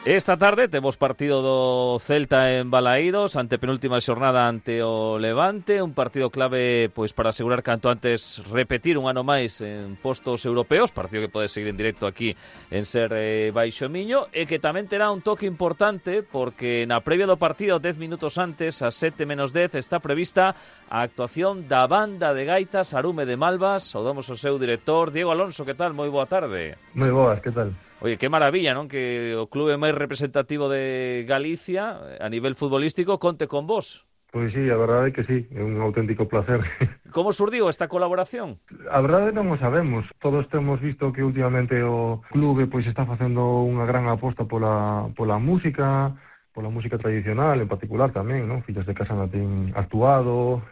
Esta tarde temos partido do Celta en Balaídos, ante penúltima xornada ante o Levante, un partido clave pois para asegurar canto antes repetir un ano máis en postos europeos, partido que pode seguir en directo aquí en Ser Baixo Miño, e que tamén terá un toque importante porque na previa do partido, 10 minutos antes, a 7:10, está prevista a actuación da banda de gaitas Arume de Malvas. Saudamos o seu director, Diego Alonso. Que tal? Moi boa tarde. Moi boas, que tal? Oye, que maravilla, non? Que o clube máis representativo de Galicia a nivel futbolístico conte con vos. Pois sí, a verdade é que sí, é un auténtico placer. Como surdiu esta colaboración? A verdade non o sabemos. Todos temos visto que últimamente o clube pois está facendo unha gran aposta pola música tradicional en particular tamén, non? Fillas de Casa ten actuado,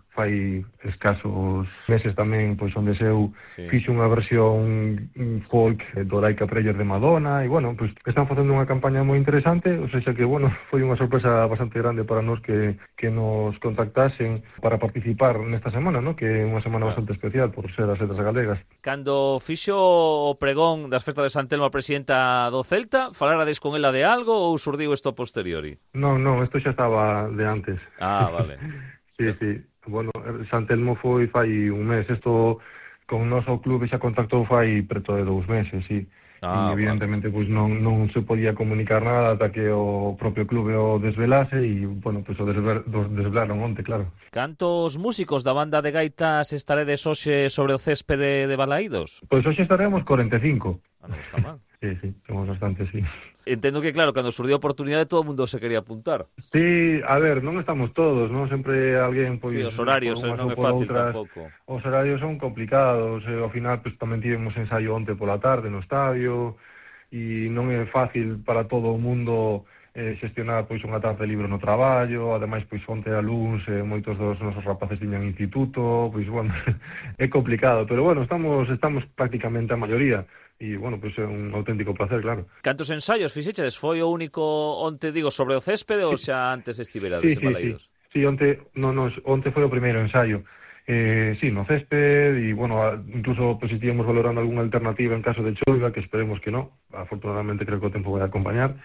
fai escasos meses tamén pois onde seu fixo unha versión folk do Like a Prayer de Madonna, e bueno, pois están facendo unha campaña moi interesante, ou seja que bueno, foi unha sorpresa bastante grande para nós que nos contactasen para participar nesta semana, ¿no? Que é unha semana bastante especial por ser as letras galegas. Cando fixo o pregón das festas de San Telmo a presidenta do Celta, falarades con ela de algo ou surdiu isto a posteriori? Non, isto xa estaba de antes. Ah, vale. Sí. Bueno, San Telmo foi fai un mes. Isto con o noso clube xa contactou fai preto de 2 meses, sí. E evidentemente pois non se podía comunicar nada ata que o propio clube o desvelase e, bueno, pois o desvelaron onte, claro. Cantos músicos da banda de gaitas estaredes hoxe sobre o céspede de Balaídos? Pois hoxe estaremos 45. Non está mal. Sí, somos bastantes, sí. Entendo que, claro, cando surdiu a oportunidade todo o mundo se quería apuntar. Sí, a ver, non estamos todos, non? Sempre alguén... Pois, sí, os horarios non é fácil tampouco. Os horarios son complicados, ao final pois, tamén tivemos ensaio onte pola tarde no estadio, e non é fácil para todo o mundo xestionar pois unha tarde libre no traballo, ademais pois onte a luns moitos dos nosos rapaces tiñan instituto, pois bueno, é complicado, pero bueno, estamos prácticamente a maioría. E, bueno, pois é un auténtico placer, claro. Cantos ensaios fixeches? Foi o único onte, digo, sobre o céspede ou xa antes estiverades en Balaídos? Sí, onte foi o primeiro ensaio. Sí, no césped, e, bueno, incluso pues, estivemos valorando algunha alternativa en caso de choiva, que esperemos que non. Afortunadamente creo que o tempo vai acompañar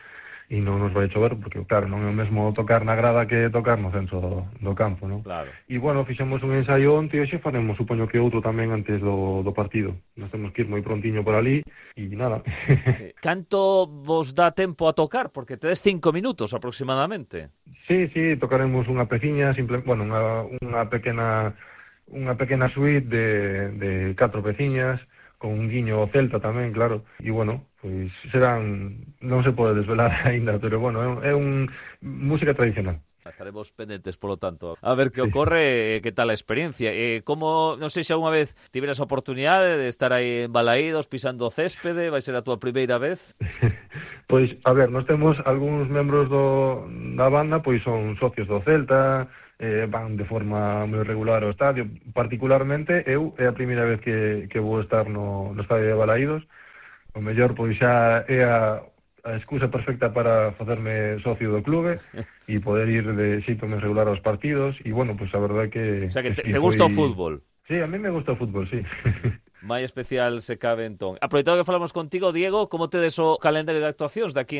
e non nos vai chover, porque, claro, non é o mesmo tocar na grada que tocar no centro do campo, non? Claro. E, bueno, fixemos un ensaio onte e hoxe faremos, supoño que outro tamén antes do partido. Nos temos que ir moi prontiño por ali e nada. Sí. Canto vos dá tempo a tocar? Porque tedes 5 minutos aproximadamente. Sí, tocaremos unha peciña, unha pequena suite de 4 peciñas, con un guiño ao Celta tamén, claro, e bueno, pois serán, non se pode desvelar aínda, pero bueno, é música tradicional. Estaremos pendentes, polo tanto, a ver que ocorre, que tal a experiencia. Como, non sei se alguna vez tiveras a oportunidade de estar aí en Balaídos, pisando o céspede, vai ser a túa primeira vez? Pois, a ver, nós temos algúns membros da banda, pois son socios do Celta, van de forma moi regular ao estadio. Particularmente, eu é a primeira vez que vou estar no estadio de Balaídos. O mellor, pois xa é a excusa perfecta para facerme socio do clube e poder ir de xeito máis regular aos partidos. E, bueno, pois a verdade que... O sea, que te gusta o fútbol? Sí, a mí me gusta o fútbol, sí. Mai especial se cabe entón. Aproveitado que falamos contigo, Diego, como tedes o calendario de actuacións de aquí